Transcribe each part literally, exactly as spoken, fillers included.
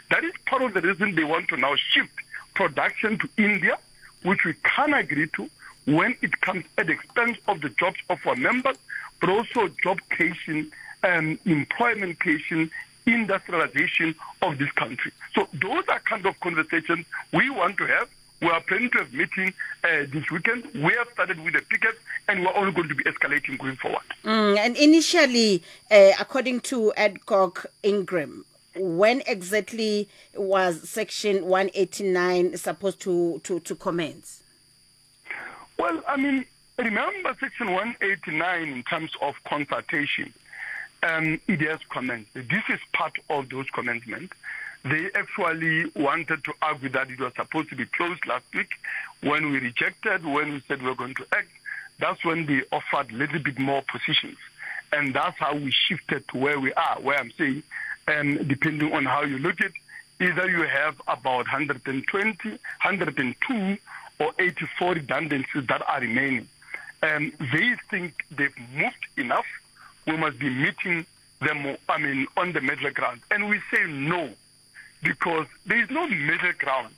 That is part of the reason they want to now shift production to India, which we can agree to when it comes at the expense of the jobs of our members, but also job creation, um, employment creation, industrialization of this country. So those are kind of conversations we want to have. We are planning to have meeting uh, this weekend. We have started with the pickets, and we're only going to be escalating going forward. Mm, and initially, uh, according to Adcock Ingram, when exactly was Section one eighty-nine supposed to, to, to commence? Well, I mean, remember Section one eighty-nine in terms of consultation, um, it has commenced. This is part of those commencements. They actually wanted to argue that it was supposed to be closed last week. When we rejected, when we said we were going to act, that's when they offered a little bit more positions. And that's how we shifted to where we are, where I'm saying, um, depending on how you look at it, either you have about hundred twenty, hundred two, or eighty-four redundancies that are remaining. Um, they think they've moved enough. We must be meeting them, I mean, on the middle ground. And we say no, because there is no middle ground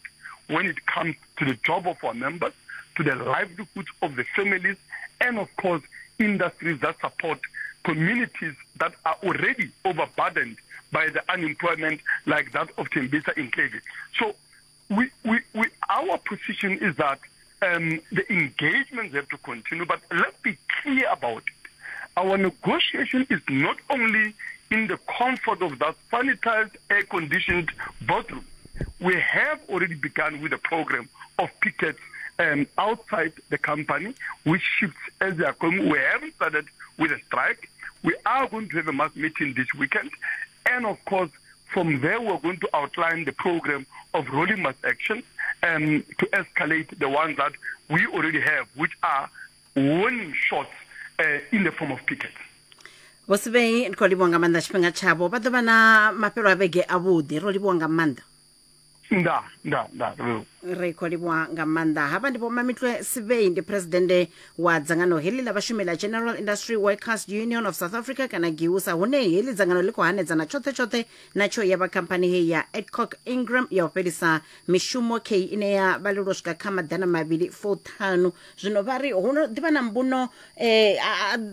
when it comes to the job of our members, to the livelihoods of the families, and of course, industries that support communities that are already overburdened by the unemployment like that of Tembisa Enclave. So we, we, we, our position is that um, the engagements have to continue, but let's be clear about it. Our negotiation is not only in the comfort of that sanitized, air-conditioned boardroom. We have already begun with a program of pickets um, outside the company, which shifts as they are coming. We haven't started with a strike. We are going to have a mass meeting this weekend. And, of course, from there we're going to outline the program of rolling mass action um, to escalate the ones that we already have, which are warning shots uh, in the form of pickets. Vho Sibei, ndi khou livhuwa nga maanḓa tshifhinga tshavho. Vha ḓo vha na mafhelo a vhege avhuḓi. Ro livhuwa nga maanḓa. Nda, nda, nda. Ri khou livhuwa nga maanḓa. Havha ndi Vho Mametlwe Sebei, ndi presidennde wa dzangano heḽi ḽa vhashumi ḽa General Industry Workers Union of South Africa kana GIWUSA, hune heḽi dzangano ḽi khou hanedzana tshoṱhe tshoṱhe na tsho ya vha khamphani heyi ya Adcock Ingram ya u fhelisa mishumo kei ine ya vhalelwa u swika kha maḓana mavhili fuṱhanu. Zwino vha ri hu no ḓivha na mbuno eh,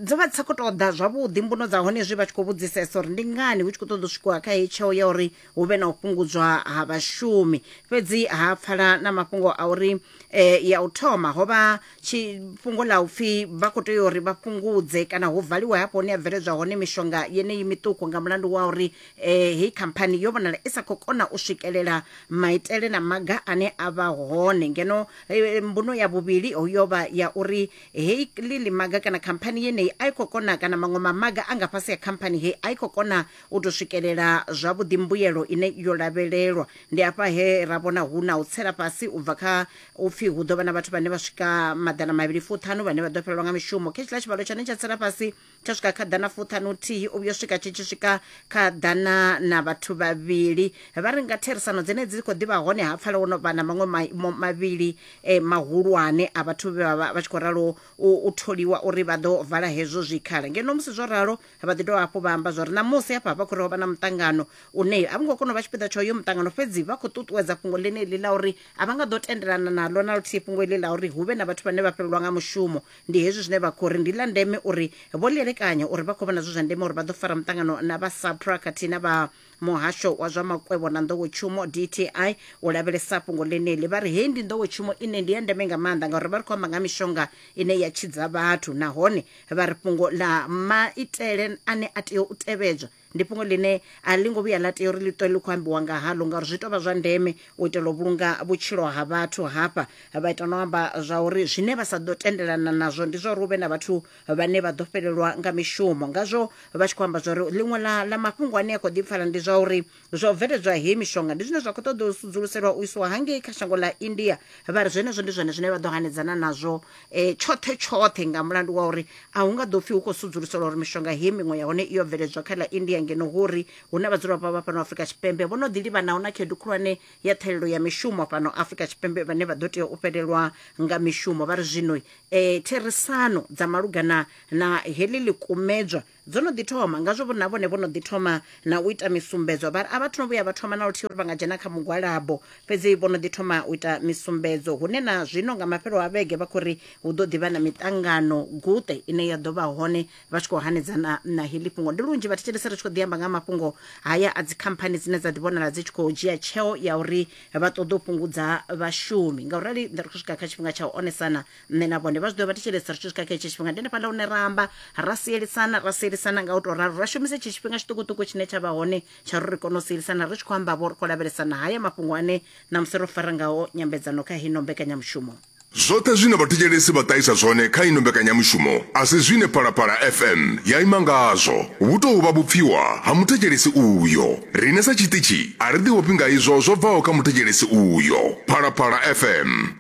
dzo vha dzi sa khou tou ḓa zwavhuḓi mbuno dza hone zwi vha tshi khou vhudzisesa uri ndi ngani hu tshi khou ṱoḓa u swikiwa kha heyi tsheo ya uri hu vhe na u fhungudzwa ha vhashumi. Fhedzi ha pfala na mafhungo a uri eh, ya u thoma ho vha fhungo ḽa upfi vha khou tea uri vha fhungudze kana hu valiwe hafho hune ya bveledzwa hone mishonga yeneyi miṱuku nga mulandu wa uri eh, heyi khamphani yo vhonala i sa khou kona u swikelela maitele na maga ane a vha hone. Ngeno eh, mbuno ya vhuvhili yo vha ya uri heyi ḽi maga kana khamphani yeneyi a i khou kona kana maṅwe mamaga a nga fhasi ya khamphani heyi a i khou kona u tou swikelela zwavhuḓi mbuyelo ine yo lavhelelwa. Ndi afha he ra vhona hu na u tsela fhasi u bva kha upfi hu ḓo vha na vhathu vhane vha swika maḓana mavhili fuṱhanu vhane vha ḓo fhelelwa nga mishumo. Kha tshiḽa tshivhalo tshane tsha tsela fhasi tsha swika kha ḓana fuṱhanu thihi u vhuya swika tshi tshi swika kha ḓana na vhathu vhavhili. Vha ri nga therisano dzenedzi dzi khou ḓivha hone ha pfala wo no vha na maṅwe mavhili eh, mahulwane a vhathu vhe vha vha tshi khou ralo u tholiwa uri vha ḓo vala hezwo zwikhala. Ngeno musi zwo ralo vha ḓi dovha hafhu vha amba zwa uri ṋamusi hafha vha khou ri ho vha na muṱangano une a vho ngo kona u vha tshipiḓa tsha uyo muṱangano, fhedzi vha khou ṱuṱuwedza fhungo ḽeneḽi ḽa uri a vha nga ḓo tendelana naḽo na luthihi fhungo iḽi ḽa uri hu vhe na vhathu vhane vha fhelelwa nga mushumo. Ndi hezwi zwine vha khou ri ndi ḽa ndeme uri vho ḽielekanya uri vha khou vhona zwi zwa ndeme uri vha ḓo fara muṱangano na vha SAPRA khathihi na vha muhasho wa zwa makwevho na nḓowetshumo D T I u lavhelesa fhungo ḽeneḽi. Vha ri heyi ndi nḓowetshumo ine ndi ya ndeme nga maanḓa ngauri vha ri khou amba nga mishonga ine ya tshidza vhathu, nahone vha ri fhungo ḽa maitele ane a tea u tevhedzwa ndi fhungo ḽine a ḽi ngo vhuya ḽa tea uri ḽi ṱwe ḽi khou ambiwa nga haḽo ngauri zwi tou vha zwa ndeme u itela u vhulunga vhutshilo ha vhathu. Hafha vha ita no amba zwa uri zwine vha sa ḓo tendelana nazwo ndi zwa uri hu vhe na vhathu vhane vha ḓo fhelelwa nga mishumo. Ngazwo vha tshi khou amba zwa uri ḽiṅwe ḽa ḽa mafhungo ane a khou ḓi pfala ndi zwa uri zwa u bveledzwa heyi mishonga ndi zwine zwa khou ṱoḓa u sudzuluselwa u isiwa hangei kha shango ḽa India. Vha ri zwenezwo ndi zwone zwine vha ḓo hanedzana nazwo eh, tshoṱhe tshoṱhe nga mulandu wa uri a hu nga ḓo pfhi hu khou sudzuluselwa uri mishonga heyi miṅwe ya hone iyo bveledzwa kha ḽa India, ngeno hu uri hu na vhadzulapo vha fhano Afrika Tshipembe vho no ḓi livhanaho na khaedu khulwane ya ṱhahelelo ya mishumo fhano Afrika Tshipembe vhane vha ḓo tea u fhelelwa nga mishumo. Vha ri zwino eh, therisano dza malugana na heḽi ḽikumedzwa dzo no ḓi thoma ngazwo vho na vhone vho no ḓi thoma na u ita misumbedzo. Vha a vhathu no vhuya vha thoma na luthihi uri vha nga dzhena kha mugwalabo, fhedzi vho no ḓi thoma u ita misumbedzo hune na zwino nga mafhelo a vhege vha khou ri hu ḓo ḓivha na miṱangano guṱe ine ya ḓo vha hone vha tshi khou hanedzana na heḽi fhungo. Ndi lunzhi vhathetshelesi ri tshi khou ḓi amba nga mafhungo haya a dzikhamphani dzine dza ḓi vhonala dzi tshi khou dzhia tsheo ya uri vha ṱoḓa u fhungudza vhashumi. Ngaurali ri khou swika kha tshifhinga tsha u onesana nṋe na vhone vha zwi ḓo vhathetshelesi ri tshi swika kha hetshi tshifhinga ndi hanefhaḽa hune ra amba ra sielisana ra sielisana nga u tou ralo, ra shumisa hetshi tshifhinga tshiṱukuṱuku tshine tsha vha hone tsha uri ri kone u sielisana ri tshi khou amba vho ri khou lavhelesana haya mafhungo ane ṋamusi ro fara ngao nyambedzano kha hino mbekanyamushumo. Zwoṱhe zwine vhathetshelesi vha ṱahisa zwone kha ino mbekanyamushumo a si zwine Phalaphala F M ya ima ngazwo, vhu tou vha vhupfiwa ha muthetshelesi uyo. Riṋe sa tshiṱitshi a ri ḓi ofhi nga izwo zwo bvaho kha muthetshelesi uyo. Phalaphala F M.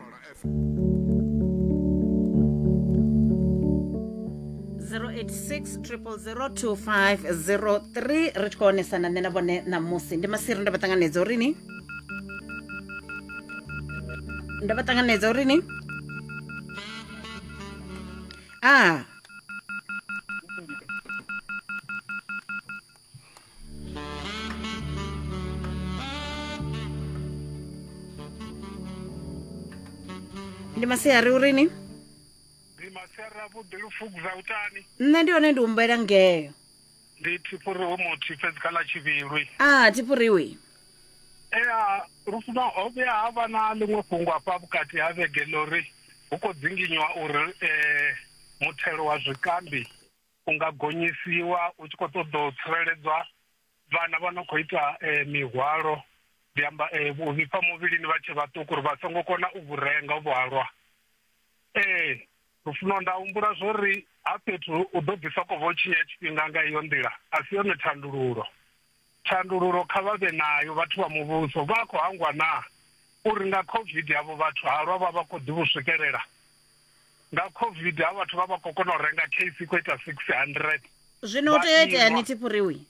zero eight six triple zero two five zero three ri tshi khou onesana nṋe na vhone ṋamusi. Ndi Masiri, ndo vha ṱanganedza uri ni ndo vha ṱanganedza uri ni a ndi masiari uri ni ndi masiari avhuḓi lufukudza utani. Nṋe ndi hone ndi humbela ngeyo ndi Thifhuriwe muthu fhedzi kha ḽa Tshivhilwi. A Thifhuriwe ea lufuna ho vhuya ha vha na ḽiṅwe fhungo hafha vhukati ha vhege ḽori hu khou dzinginywa uri um muthelo wa zwikambi u nga gonyisiwa u tshi khou ṱoḓa u tsireledzwa vhana vha no khou ita um mihwalo, ndi amba um u vhifha muvhilini vha tshe vhaṱuku uri vha songo kona u vhu renga vhuhalwa. Ee lufuna nda humbula zwori ha fhethu u ḓo ḓi soko vho tshinya tshifhinga nga iyo nḓila a si yone thandululo. Thandululo kha vha vhe nayo vhathu vha muvhuso, vha khou hangwa na uri nga COVID havho vhathu halwa vha vha khou ḓi vhu swikelela. Nga COVID ha vhathu vha vha khou kona u renga case i khou ita six hundred. Zwino u tea itea ni Thifhuriwi?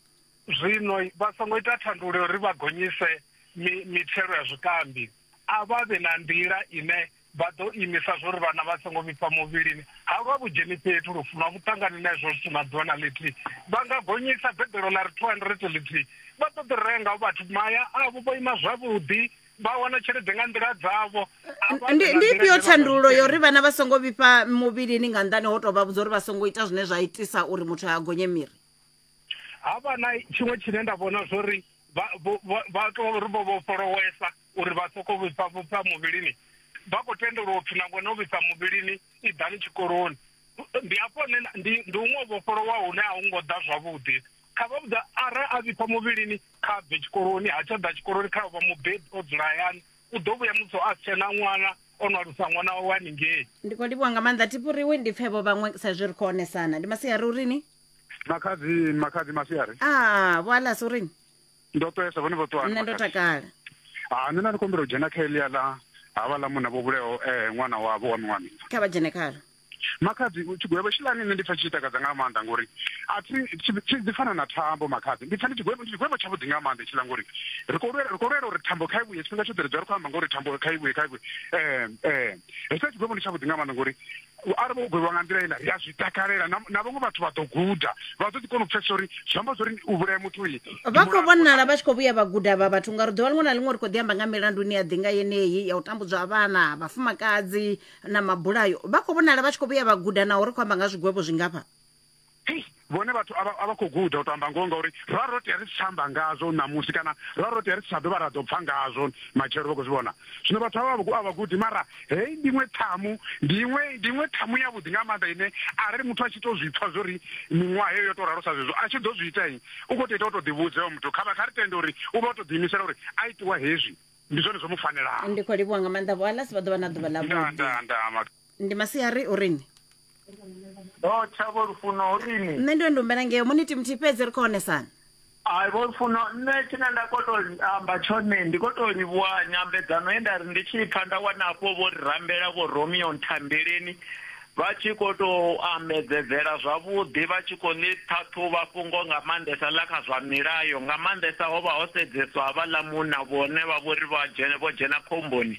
Zwino vha songo ita thandululo uri vha gonyise mithelo ya zwikambi, a vha vhe na nḓila ine vha ḓo imisa zwori vhana vha songo vhifha muvhilini. Halwa vhudzheni fhethu lufuno vhuṱangani na izwo zwithu na ḓuvha na ḽithihi vha nga gonyisa beḓelo ḽa ri two hundred ḽithihi vha ḓo ḓi renga vhathu maya avho vho ima zwavhuḓi vha wana tshelede nga nḓila dzavho. Ndi ndi ifhio thandululo yo uri vhana vha songo vhifha muvhilini nga nnḓani ho tou vha vhudza uri vha songo ita zwine zwa itisa uri muthu a gonye miri? Ha vha na tshiṅwe tshine nda vhona zwori vha vha tou ri vho vhofholowesa uri vha soko vhifha vhifha muvhilini, vha khou tendelwa upfhi nangwe no vhifha muvhilini i ḓani tshikoloni. Ndi hafho ndi ndi huṅwe vhofholowa hune a hu ngo ḓa zwavhuḓi. Kha vha vhudza arali a vhifha muvhilini kha bve tshikoloni, ha tsha ḓa tshikoloni kha vha mubebi o dzula hayani, u ḓo vhuya musi a si tshena ṅwana o no alusa ṅwana wawe haningei. Ndi khou livhuwa nga maanḓa Thifhuriwe, ndi pfhe vho vhaṅwe sa izwi ri khou onesana. Ndi masiari urini? Makhadzi makhadzi masiari. Ah, vho Alasi urini? Ndo ṱwesa vhone vho ṱwa. Nṋe ndo takala. Ah, nṋe nda ndi kombela u dzhena kha heḽia ḽa havha ḽa munna vho vhulayaho eh ṅwana wavho wa miṅwaha miṋa. Kha vha dzhene khalo. Makhadzi tshigwevho tshiḽani nṋe ndi pfha tshi takadza nga maanḓa ngori a thi tshi ḓi fana na thambo makhadzi. Ndi pfha ndi tshigwevho ndi tshigwevho tshavhuḓi nga maanḓa tshiḽa ngori ri khou lwela ri khou lwela uri thambo kha i vhuye tshifhinga tshoṱhe ri dzula ri khou amba ngori thambo kha i vhuye kha i vhuye. Eh eh hetshiḽa tshigwevho ndi tshavhuḓi nga maanḓa ngori arali vho gwevhiwa nga nḓila iḽa ri a zwi takalela na vhaṅwe vhathu vha ḓo guda vha ḓo ḓi kona u pfhesesa uri zwi amba zwori u vhulaya muthu uyi. Vha khou vhonala vha tshi khou vhuya vha guda vha vhathu ngauri ḓuvha ḽiṅwe na ḽiṅwe ri khou ḓi amba nga milandu ine ya ḓi nga yeneyi ya u tambudzwa ha vhana, vhafumakadzi na mabulayo. Vha khou vhonala vha tshi khou vhuya vha guda naho ri khou amba nga zwigwevho zwingafha. Hei vhone vhathu a vha khou guda u to amba ngoho ngauri ra ro tea ri si tsha amba ngazwo ṋamusi kana ra ro tea ri si tsha dovha ra ḓo pfha ngazwo matshelo vha khou zwi vhona. Zwino vhathu avha a vha gudi mara hei ndi iṅwe ṱhamu ndi iṅwe ndi iṅwe ṱhamu yavhuḓi nga maanḓa ine arali muthu a tshi to zwi pfha zwori miṅwaha heyo yo to ralo sa zwezwo a tshi ḓo zwi ita u khou tou ita u to ḓivhudza hoyo muthu kha vha kha ri tende uri u vha o to ḓiimisela uri a itiwa hezwi ndi zwone zwo mu fanelaho. Ndi khou livhuwa nga maanḓa vho Alasi, vha ḓo vha na ḓuvha ḽavhuḓi. Ndi masiari urini? Ndo tsha vho Lufuno urini? Nṋe ndi ndo humbela ngeo muniti muthihi fhedzi ri khou onesana. Ai vho Lufuno, nṋe tshine nda khou tou amba tshone ndi khou tou livhuwa nyambedzano ye nda ri ndi tshi pfha nda wana afho vho ri rambela vho Romeo Nthambeleni vha tshi khou tou ambedzedzela zwavhuḓi, vha tshi khou ḽi ṱhaṱhuvha fhungo nga maanḓesa ḽa kha zwa milayo, nga maanḓesa ho vha ho sedzeswa havhaḽa munna vhone vha vhori vha dzhena vho dzhena khomboni.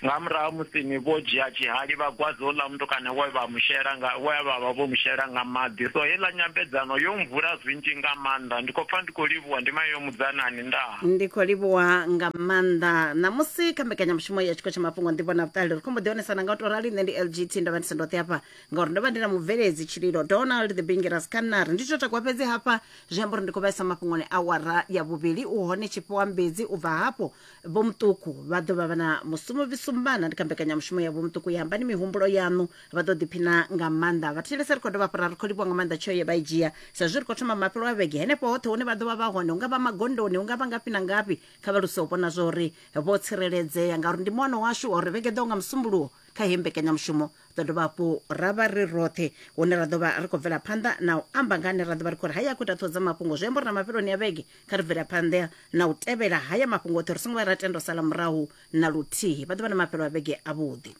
Nga murahu musi ni vho dzhia tshihali vha gwadza houḽa mutukana we vha mushela nga we vha vha vho mushela nga maḓi. So heiḽa nyambedzano yo mvula zwinzhi nga maanḓa. Ndi khou pfa ndi khou livhuwa, ndi mayo mudzanani ndaa. Ndi khou livhuwa nga maanḓa. Ṋamusi kha mbekanyamushumo ya Tshiko tsha Mafhungo Nḓivho na Vhuṱali ri khou mbo ḓi onesana nga u tou rali. Nṋe ndi L G T, ndo vha ndi si ndoṱhe hafha ngauri ndo vha ndi na mubveledzi Tshililo Donald the Bingiras Kanari. Ndi tsho takuwa fhedzi hafha zwi amba uri ndi khou vhaisa mafhungoni awara ya vhuvhili. U hone Tshifhiwa Mbedzi, u bva hafho Vho Muṱuku vha ḓo vha vha na musumo visumbana ndi kha mbekanyamushumo ya Vho Muṱuku ya ambani mihumbulo yaṋu, vha ḓo ḓiphina nga maanḓa. Vhathetshelesi ri khou dovha hafhu ra ri khou livhuwa nga maanḓa tsheo ye vha i dzhia sa zwi ri khou thoma mafhelo a vhege henefho hoṱhe hune vha ḓo vha vha hone, hu nga vha magondoni, hu nga vha ngafhi na ngafhi, kha vha luse u vhona zwa uri vho tsireledzea ngauri ndi muano washu uri vhege ḓo nga musumbuluwo kha heyi mbekanyamushumo ḓo dovha hafhu ra vha ri roṱhe hune ra ḓo vha ri khou bvela phanḓa na u amba nga hane ra ḓo vha ri khou ri haya khou ita ṱhoho dza mafhungo. Zwi amba uri na mafheloni a vhege kha ri bvela phanḓa na u tevhela haya mafhungo oṱhe, ri songo vha ra tenda u sala murahu na luthihi. Vha ḓo vha na mafhelo a vhege avhuḓi.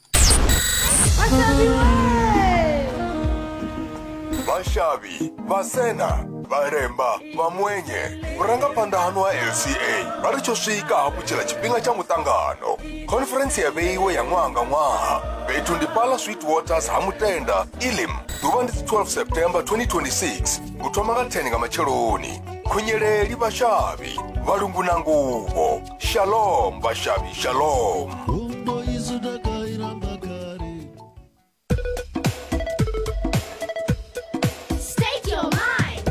Vashavi, Vasena, Varemba, Vamwenye, vhurangaphanḓa hanu ha L C A vha ri tsho swika hafhu tshila tshifhinga tsha muṱangano. Khonferentsi ya vheiwe ya ṅwaha nga ṅwaha fhethu ndi Pala Sweet Waters ha Mutenda, Elim. Ḓuvha ndi twelve September twenty twenty-six u thoma nga ten nga matsheloni. Khunyeleli vhashavhi, vhalungu na nguvho. Shalom vhashavhi, shalom.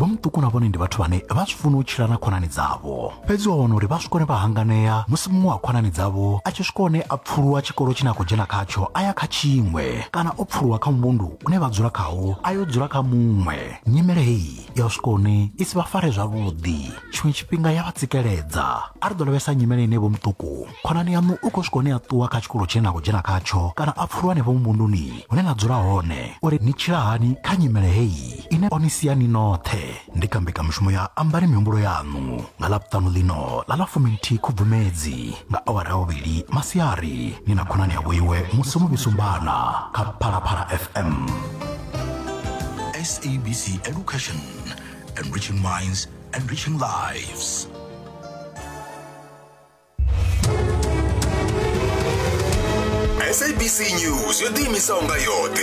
Vho Muṱuku na vhone ndi vhathu vhane vha zwi funa u tshila na khonani dzavho, fhedzi wa wana uri vha swika hone vha hanganea musi muṅwe wa khonani dzavho a tshi swika hone a pfuluwa tshikolo tshine a khou dzhena khatsho a ya kha tshiṅwe, kana o pfuluwa kha muvhundu une vha dzula khawo a yo dzula kha muṅwe. Nyimele heyi ya u swika hone i si vha fare zwavhuḓi, tshiṅwe tshifhinga ya vha tsikeledza. A ri ḓo lavhelesa nyimele ine Vho Muṱuku khonani yaṋu u khou swika hone a ṱuwa kha tshikolo tshine na khou dzhena khatsho kana a pfuluwa hanefho muvhunduni hune na dzula hone, uri ni tshila hani kha nyimele heyi ine o ni sia ni noṱhe. Ndi kha mbekanyamushumo ya Ambani Mihumbulo Yaṋu nga Ḽavhuṱanu ḽino ḽa ḽa fuminthihi Khubvumedzi nga awara ya vhuvhili masiari ni na khonani ya vhoiwe Musumo Vhisumbana kha Phalaphala F M. S A B C Education, enriching minds, enriching lives. S A B C News yo ḓiimisaho nga yoṱhe.